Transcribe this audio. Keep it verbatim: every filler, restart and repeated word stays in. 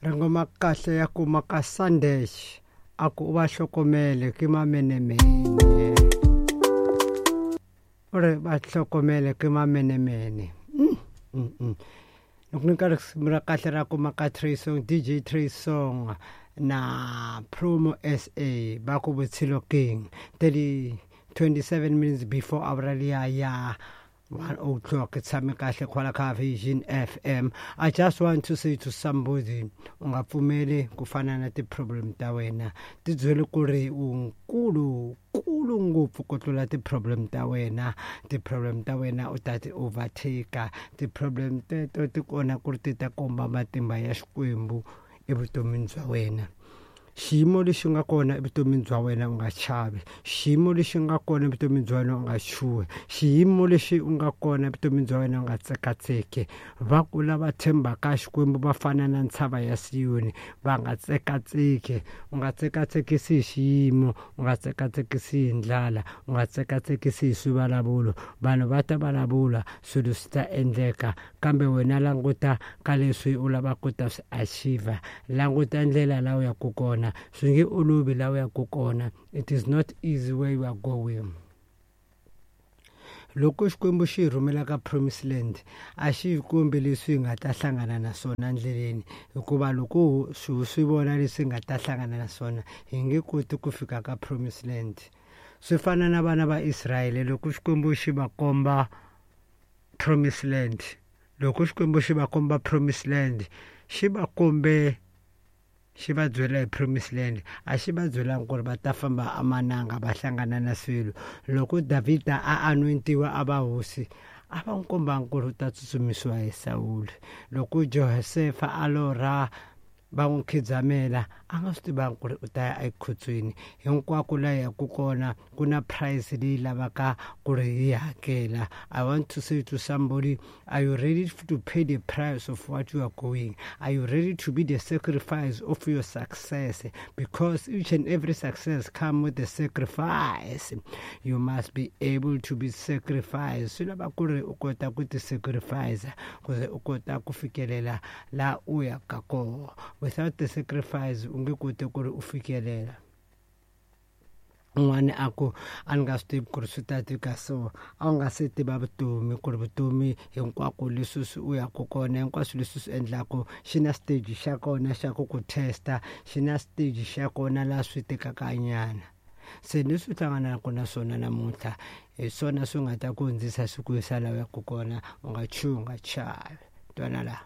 Rhingoma kahle ya kuma ka Sandesh a ku u va hlokomele ke mamenemene u ri va hlokomele ke mamenemene mm, mm, mm. Loko ni ka risimu ra kahle ra kuma ka Trey Song D J Trey Song na Promo S A va ku Vutshilo King thirty twenty-seven minutes before hour liya ya one o'clock. Tshame kahle kwala ka Vision F M. I just want to say to somebody, u nga pfumeli ku fana na ti-problem ta wena. Ti byele ku ri u nkulu kulu ngopfu ku tlula ti-problem ta wena. Ti-problem ta wena u ta ti overtake. Ti-problem teto ti kona ku ri ti ta komba matimba ya Xikwembu evutomini bya wena. Xiyimo lexi nga kona evutomini bya wena u nga chavi. Xiyimo lexi nga kona evutomini bya wena u nga chuhi. Xiyimo lexi u nga kona evutomini bya wena u nga tsekatseki. Va ku lava tshembaka Xikwembu va fana na ntshava ya Siyoni, va nga tsekatseki. U nga tsekatsekisi hi xiyimo, u nga tsekatsekisi hi ndlala, u nga tsekatsekisi hi swivulavulo. Vanhu va ta vulavula, swilo swi ta endleka, kambe wena languta ka leswi u lavaka ku ta swi achieve. Languta ndlela laha u yaka kona. Swi nge olovi laha u yaka kona. It is not easy where you are going. Loko Xikwembu xi hi rhumela ka Promised Land, a xi hi kombi leswi hi nga ta hlangana na swona endleleni, hikuva loko swi swi vona leswi hi nga ta hlangana na swona, hi nge koti ku fika ka Promised Land. Swi fana na vana va Israyele loko Xikwembu xi va komba Promised Land. Loko Xikwembu xi va komba Promised Land, xi va kombe xi va byela hi Promised Land, a xi va byelangi ku ri va ta famba emananga va hlangana na swilo. Loko Davhida a anointiwa a va hosi, a va n'wi kombangi ku ri u ta tsutsumisiwa hi Sawuli. Loko Josefa a lorha va n'wi khidzamela, a nga swi tivangi ku ri u ta ya ekhotsweni. Hinkwako laha yaka kona ku na price leyi lavaka ku ri yi hakela. I want to say to somebody, are you ready to pay the price of what you are going? Are you ready to be the sacrifice of your success? Because each and every success comes with the sacrifice. You must be able to be sacrificed. Swi lava ku ri u kota ku ti sacrifice, ku ze u kota ku fikelela laha u yaka kona. Without the sacrifice, u nge koti ku ri u fikelela. Un'wana a ku a ni nga swi tivi ku ri swi ta tika so, a wu nga se tiva vutomi ku ri vutomi hinkwako leswi swi u yaka kona, hinkwaswo leswi swi endlaka xi na stage xa kona xa ku ku testa, xi na stage xa kona laha swi tikaka nyana. Se leswi u hlanganaka na swona namuntlha hi swona swi nga ta ku hundzisa swi ku yisa laha u yaka kona. U nga chuhi, u nga chavi. Twana laha.